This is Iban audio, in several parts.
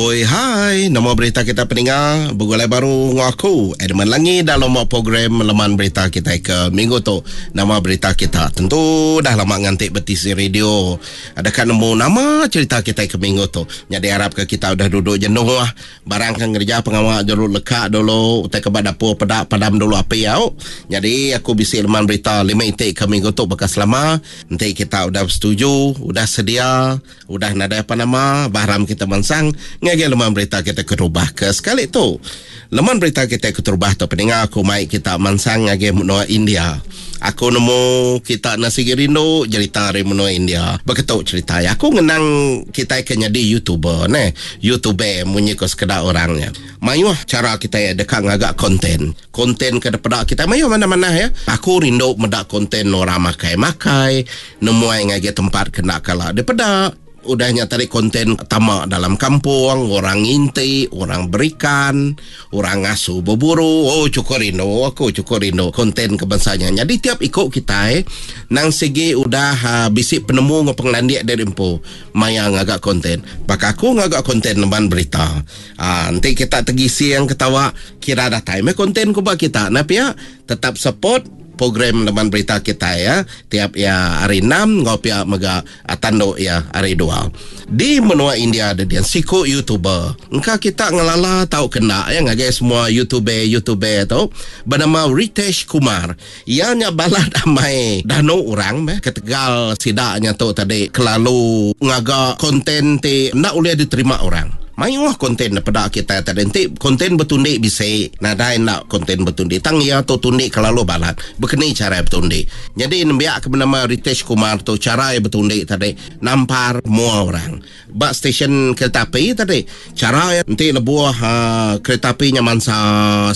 Oi hai, nama berita kita peninga begulai baru enggau aku Edmund Langi dalam program leman berita kita ke minggu tu. Nama berita kita tentu dah lama nganti betisi radio. Deka nemu nama cerita kita ke minggu tu. Jadi harap ke kita udah duduk jenuh Barang ke ngereja pengawa jelu leka dulu utai ke ba dapur peda padam dulu api au. Nyadi aku bisi leman berita lima iti ke minggu tu baka selama. Enti kita udah besetuju, udah sedia, udah nadai apa nama, bah aram kita mansang ngagai leman berita kita keterubah ke sekali tu. Leman berita kita keterubah tu peninga aku mai kita mansang ngagai menua India. Aku nemu kita enda sigi rindu jerita ari menua India. Beketu cerita iya. Aku ngenang kitai ke nyadi YouTuber neh. Youtube munyi ko sekeda orang nya. Mayuh chara kitai deka ngaga konten. Konten ke dipeda kitai mayuh manah-manah ya. Aku rindu meda konten orang makai-makai, nemuai ngagai tempat ke enda kala dipeda. Udah nya tadi konten tama dalam kampung, orang nginti, orang berikan, orang ngasu beburu. Oh chukup rindu aku chukup rindu konten ke bansa nya. Nyadi tiap iku kitai nang sigi udah uh, bisi penemu enggau pengelandik diri empu maya ngaga konten. Baka aku ngaga konten leman berita. Uh, enti kita tegising ketawa kira datai meh konten ku ba kita. Nah pia tetap support program leman berita kitai ya tiap ya hari 6 enggau pia mega Tandu iya hari dua. Di menua India dedin siku YouTuber. Engka kita ngelala tauka enda iya ngagai semua YouTuber YouTuber tu benama Ritesh Kumar. Iya nya balat amai danu orang meh ketegal sida nya tu tadi kelalu ngaga konten ti enda ulih diterima orang. Mayuh konten da peda kitai tadi enti konten betundi bisi nadai enda konten betundi tang iya tu tundi kelalu balat bekeni chara iya betundi. Nyadi nembiak ke benama Ritesh Kumar tu chara iya betundi tadi nampar mua orang ba stesen kereta api tadi chara iya enti lebuh aaa kereta api nya mansa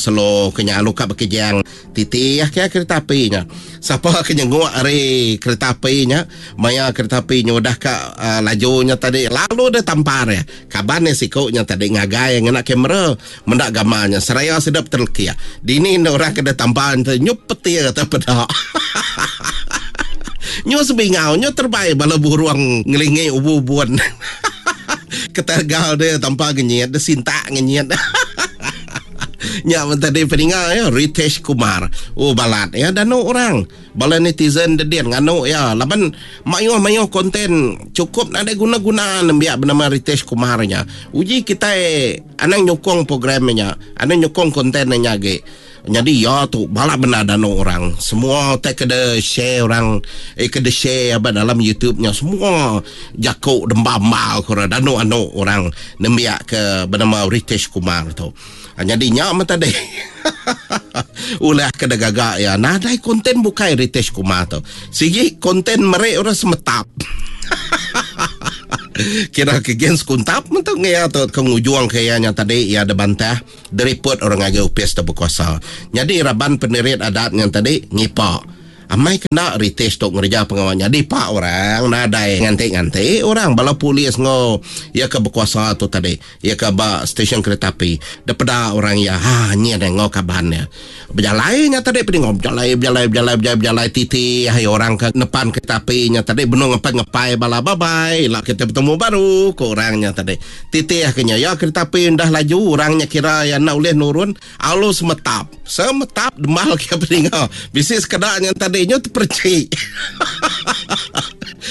selo ke nya alu ka bekejang Titi ah ke kereta api nya. Sapa ke nyenguk ari kereta api nya, maya kereta api nya udah ka uh, laju nya tadi lalu deh tampar ya. Kaban iya siku nya tadi ngagai ngena kamera menda gambar nya seraya sida betelekik. Dini enda orang ke deh tampar nya nyup peti kata peda. Nyu sebingau nyu terbai bala burung ngelingi ubu-ubun. Ketegal dia tampar ngenyit, dia sintak ngenyit. Nya men tadi peninga ya Ritesh Kumar. Oh balat ya danu orang. Bala netizen dedin nganu ya laban mayuh-mayuh konten cukup nadai guna-guna nembiak benama Ritesh Kumar nya. Uji kitai anang nyukung program nya, anang nyukung konten nya agi. Nyadi ya tu balat bendar danu orang. Semua utai ke de share orang eh ke de share ba dalam YouTube nya semua jaku demba-emba ku orang danu anu orang nembiak ke benama Ritesh Kumar tu. Nyadi nya meh tadi. Ulah ke digaga iya nadai konten bukai Ritesh Kumar tu. Sigi konten meri orang semetap. Kira ke gen sekuntap meh tu ngia tu ke ngujung ke iya nya tadi iya dibantah diripot orang ngagai opis tu bekuasa. Nyadi raban penerit adat nya tadi ngipa Amai kena Ritesh tu ngereja pengawa nyadi pak orang nadai nganti-nganti orang bala polis enggau iya ke bekuasa tu tadi iya ke ba stesen kereta api depeda orang iya ha nyin enggau kaban iya bejalai nya tadi pedinga bejalai bejalai bejalai bejalai bejalai titi ai orang ke nepan kereta api nya tadi benung ngepai ngepai bala bye bye ila kita betemu baru ku orang nya tadi titih ke nya iya kereta api udah laju orang nya kira iya enda ulih nurun Alu semetap. Semetap demal ke peninga. Bisi sekeda nya tadi nyu tepercik.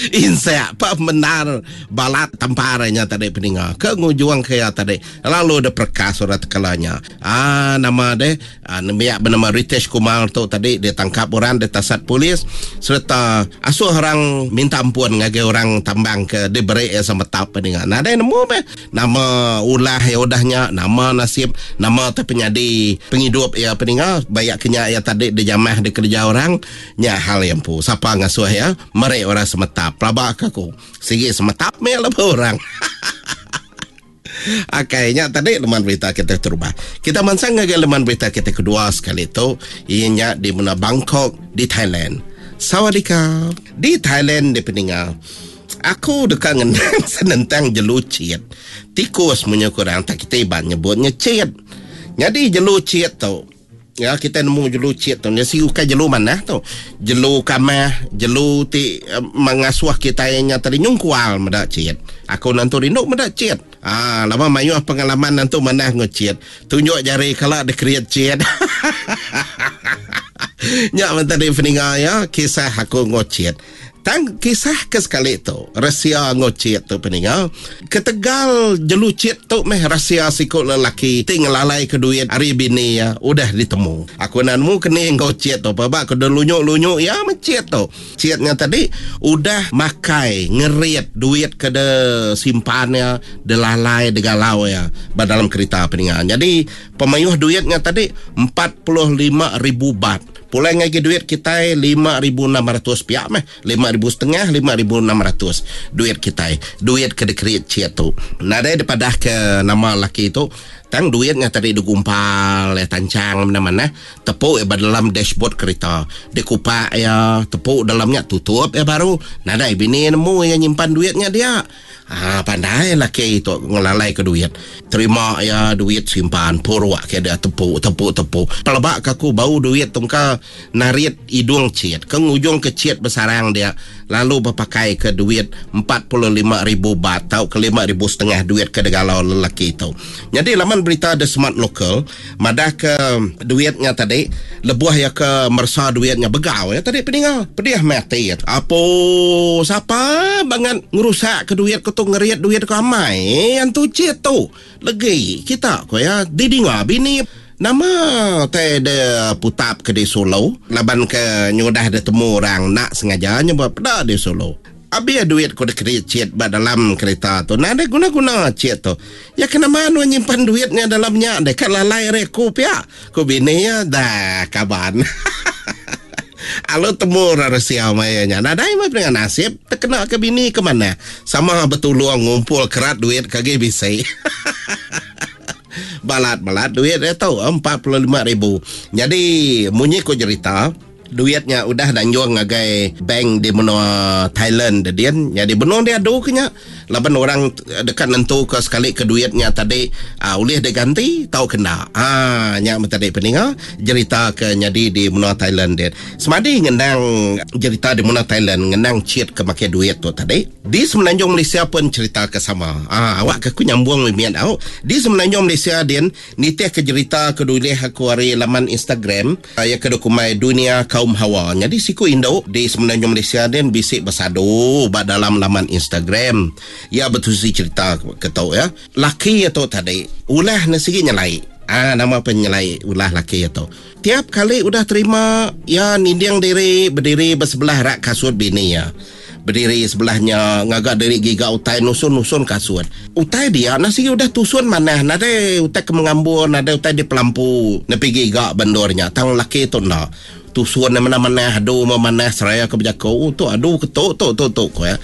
Insek pa bendar balat tampar nya tadi peninga. Ke ngujung ke iya tadi lalu deh perekas orang tekala nya. Ah nama deh ah, nembiak benama Ritesh Kumar tu tadi ditangkap orang ditasat polis sereta asuh orang minta ampun ngagai orang tambang ke diberi iya semetap peninga. Nadai nemu meh Nama ulah iya udah nya, nama nasib, nama te penyadi pengidup iya peninga bayak ke nya iya tadi dijamah dikereja orang, nya hal iya empu. Sapa ngasuh iya meri orang semetap. Pelaba ke aku, sigi semetap meh lebuh orang. Akai nya tadi leman berita kita terubah. Kita mansang ngagai leman berita kita kedua sekali tu, iya nya di menua Bangkok di Thailand. Sawadika. Di Thailand di peninga. Aku deka ngenang senentang jelu chit. Tikus munyi ku orang tak kitai Iban nyebut nya chit. Nyadi jelu chit tu, ya kitai nemu jelu chit tu nya sigi ukai jelu manah tu. Jelu kamah, jelu ti mengasuh kitai nya tadi nyungkual meda chit. Aku nentu rindu meda chit. Ah, lama mayuh pengalaman antu manah enggau chit. Tunjuk jari kala dikeriet chit. Nya men tadi peninga iya kisah aku enggau chit. Tang kisah ke sekali tu, resia enggau chit tu peninga, ketegal jelu chit tu meh resia siku lelaki ti ngelalai ke duit ari bini iya udah ditemu. Aku enda nemu keni enggau chit tu peba ke delunyu-lunyu iya meh chit tu. Chit nya tadi udah makai ngerit duit ke de simpan iya de lalai de galau iya ba dalam kerita peninga. Nyadi pemayuh duit nya tadi 45,000 baht. Pulai ngagai duit kitai 5,600 pia meh. 5,000 setengah, 5,600 duit kitai. Duit ke dikerit chit tu. Nadai dipadah ke nama laki tu tang duit nya tadi digumpal iya tanchang manah-manah. Tepu iya ba dalam dashboard kerita. Dikupak iya tepu dalam nya tutup iya baru. Nadai bini nemu iya nyimpan duit nya dia. Haa pandai laki tu ngelalai ke duit. Terima iya duit simpan puruk ke dia tepu tepu tepu. Peleba ke aku bau duit tu engka narit idung chit ke ngujung ke chit besarang dia lalu bepakai ke duit 45,000 baht tauka 5,000 setengah duit ke digalau lelaki tu. Nyadi laman berita The Smart Local Madahka duit nya tadi lebuh iya ke meresa duit nya begau iya tadi peninga pedih meh ati iya. Apo sapa bangat ngerusakka duit ku tu ngerit duit ku amai antu chit tu legi kita ku iya didinga bini nama tai de putap ke di solo laban ke nyudah ditemu orang enda sengaja nyebut peda di solo. Abih duit ku dikeri chit ba dalam kerita tu. Nadai guna-guna chit tu. Ya ke nama nuan nyimpan duit nya dalam nya deh ka lalai ari aku pia, ku bini iya. Dah kaban. Alu temu orang resia maya nya. Nadai meh pendengar nasib tekena ke bini ke manah. Sama betulung ngumpul kerat duit ke agi bisi. Balat-balat duit iya tu 45 ribu. Nyadi munyi ku jerita. Duit nya udah danjung ngagai bank di menua Thailand dedin. Nyadi benung diadu ke nya laban orang deka nentuka sekali ke duit nya tadi uh, ulih diganti tauka enda. Ah nya meh tadi peninga jerita ke nyadi di menua Thailand din. Semadi ngenang jerita di menua Thailand ngenang chit ke makai duit tu tadi. Di Semenanjung Malaysia pun cerita ke sama. Ah awak ke aku nyambung mimit au. Di Semenanjung Malaysia din nitih ke jerita ke dulih aku ari laman Instagram Iya ke dikumbai Dunia Kaum Hawa nyadi siku indu di Semenanjung Malaysia din bisi besadu ba dalam laman Instagram. Iya betusi cherita ke tu ya. Laki iya tu tadi ulah ne sigi nyelai. Ah nama pen nyelai ulah laki iya tu. Tiap kali udah terima iya ninding diri bediri ba sebelah rak kasut bini iya. Bediri sebelah nya ngaga diri giga utai nusun-nusun kasut. Utai dia nah sigi udah tusun manah nadai utai ke mengambur nadai utai dipelampu nepi giga ba endur nya tang laki tu enda. Tusun nya manah-manah adu memanah seraya ke bejaku oh tu adu ke tu tu tu tu ku iya.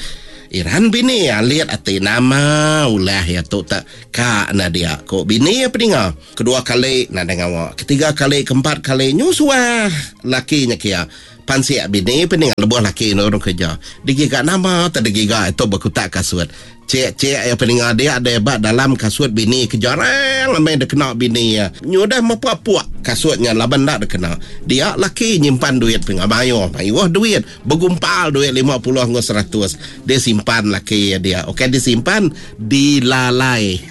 Iran bini alit ati nama ulah iya tu tak ka enda dia ku bini iya peninga. Kedua kali nadai ngawa ketiga kali keempat kali nyu suah laki nya kia. Pansik bini peninga lebuh laki nurun kerja. Digiga nama te digiga itu bekutak kasut. Cik cik iya peninga dia deh ba dalam kasut bini ke jarang amai dikena bini iya. Nyudah mepa puk kasut nya laban enda dikena. Dia laki nyimpan duit peninga mayuh mayuh duit begumpal duit 50 enggau 100 disimpan laki iya dia. Ukai disimpan dilalai.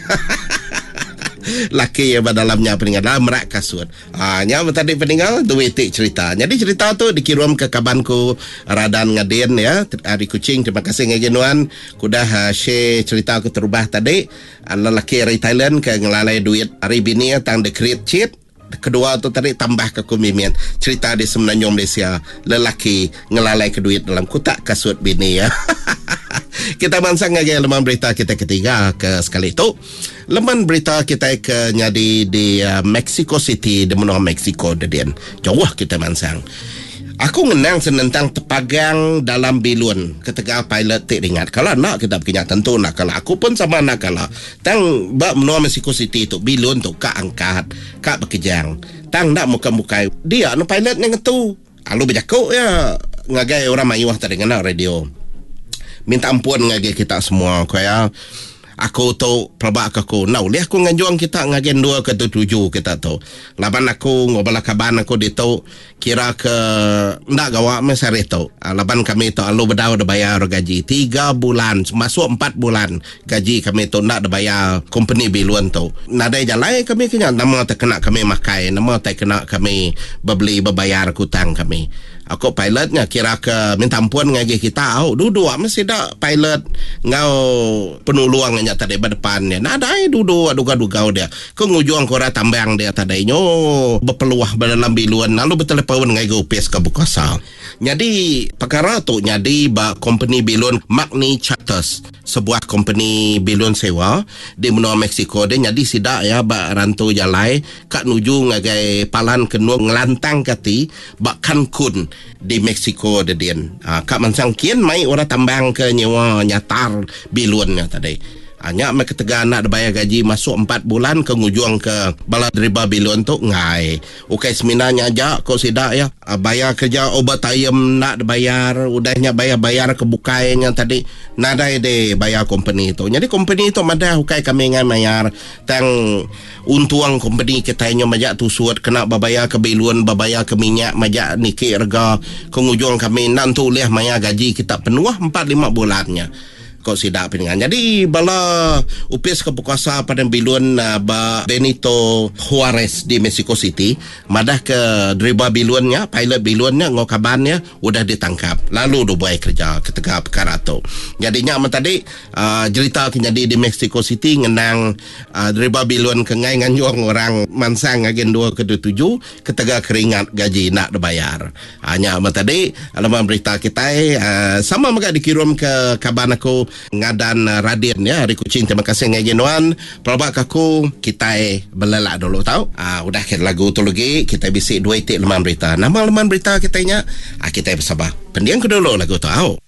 Laki iya ba dalam nya peninga dalam rak kasut. Ha, nya meh tadi peninga dua iti cerita. Nyadi cerita tu dikirum ke kaban ku Radan Ngadin ya ari Kuching. Terima kasih ngagai nuan ku dah ah, share cerita aku terubah tadi. Ah, lelaki ari Thailand ke ngelalai duit ari bini iya tang dikerit chit. Kedua tu tadi tambah ke ku mimit cerita di Semenanjung Malaysia lelaki ngelalai ke duit dalam kutak kasut bini iya. Kita mansang ngagai leman berita kita ketiga ke sekali tu. Leman berita kitai ke nyadi di Mexico City di menua Mexico dedin. Jauh kitai mansang. Aku ngenang senentang tepagang dalam bilun ketegal pilot ti ringat. Kala enda kita bekinya tentu enda kala. Aku pun sama enda kala. Tang ba menua Mexico City tu bilun tu ka angkat, ka bekejang. Tang enda mukai-mukai dia ne pilot nya ngetu. Lalu bejaku iya ngagai orang mayuh tadi ngena radio. Minta ampun ngagai kita semua ku iya. Aku tu pelaba ke aku enda ulih aku nganjung kita ngagai endur ke tuju kita tu. Laban aku enggau bala kaban aku ditu kira ke enda gawa meh sehari tu. Laban kami tu alu bedau dibayar gaji tiga bulan masuk empat bulan gaji kami tu enda dibayar kompeni bilun tu. Nadai jalai kami ke nya nama tai kena kami makai nama tai kena kami bebeli bebayar ke utang kami. Aku pilot nya kira ke minta ampun ngagai kita au duduk meh sida pilot enggau penulung nya tadi ba depan dia nadai duduk dugau-dugau dia ke ngujung ke orang tambang dia tadi nyu bepeluh ba dalam bilun lalu betelepaun ngagai opis ke bekuasa. Nyadi pekara tu nyadi ba kompeni bilun Magni Charters sebuah kompeni bilun sewa di menua Mexico dia nyadi sida iya ba rantu jalai ka nuju ngagai palan ke endur ngelantangka ati ba Cancun di Mexico dedin. Ka mansang kin mai orang tambang ke nyewa nyatar bilun nya tadi. Nya meh ketegal enda dibayar gaji masuk empat bulan ke ngujung ke bala deriba bilun tu enggai. Ukai semina nya aja ko sida iya, bayar kerja overtime enda dibayar, udah nya bayar-bayar ke bukai nya tadi nadai dibayar kompeni tu. Nyadi kompeni tu madah ukai kami enggai mayar tang Untung kompeni kitai nyau majak tusut kena bebayar ke bilun, bebayar ke minyak majak niki rega ke ngujung kami enda entu ulih mayar gaji kita penuh empat lima bulan nya, ko sida peninga. Nyadi bala opis ke bekuasa padang bilun ba Benito Juarez di Mexico City madah ke deriba bilun nya, pilot bilun nya enggau kaban iya udah ditangkap lalu dibuai kereja ketegal pekara tu. Nyadi nya meh tadi jerita ke nyadi di Mexico City ngenang Deriba bilun ke enggai nganjung orang mansang ngagai endur ke dituju ketegal keringat gaji enda dibayar. Nya meh tadi leman berita kitai sama mega dikirum ke kaban aku Ngadan Radin ya ari Kuching. Terima kasih ngagai nuan. Pelaba ke aku kitai belelak dulu tau. Udah ke lagu tu legi kitai bisi dua iti leman berita. Nama leman berita kitai nya? Kitai besabar. Pending ke dulu lagu tu au.